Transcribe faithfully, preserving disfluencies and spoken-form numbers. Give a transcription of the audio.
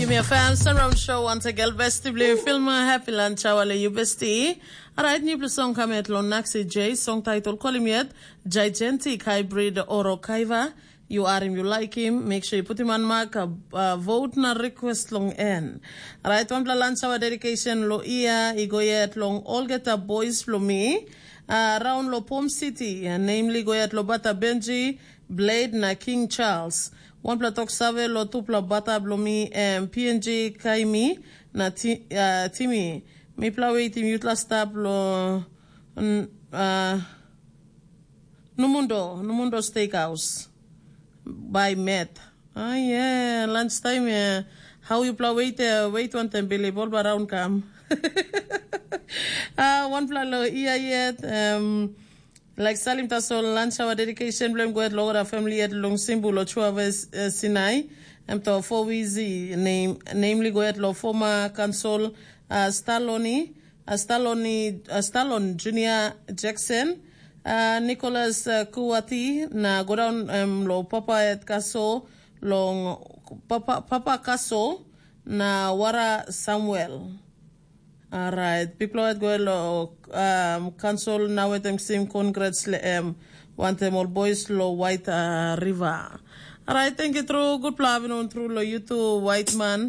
Yumi FM Sunround Show once again, besti bli filma happy lunch hour le you besti. Alright, new song come at long Naxi J, song title Kolim Yet, Gigantic Hybrid Oro Kaiva. You are him, you like him, make sure you put him on mark, uh, uh, vote na request long en. Alright, one pla lunch hour dedication lo ia, i go yet long all get up boys lo me. Uh, around lo Pom City, uh, namely go yet lo Bata Benji, Blade na King Charles. Wanpela tok save lo tupela bata bilong mi, em P N G Kaimi na ti, uh, Timi. Mipela waitim yutla stap lo n, uh, Numundo, Numundo Steakhouse. By Met. Ah, yeah, lunch time, yeah. How you pla wait, uh, wait one time, Billy, bol ba round kam. Ah, one pla lo ia yet, um, Like salim tasol lunch hour dedication blem go at lo family at long simbu lo chuaves, uh, Sinai. Em to four wizi name, namely go at lo former council, uh, Staloni, uh, Staloni, uh, Stalon Junior Jackson, uh, Nicholas, uh, Kuwati, na go down, um, lo papa at Kaso, long papa, papa Kaso, na wara Samuel. Alright, bikpela wet go lo, um, kansol na wetem sim congrats le em. Wantem ol boys lo White, uh, River. Alright, thank you tru. Gutpela avinun tru lo yutu White Man.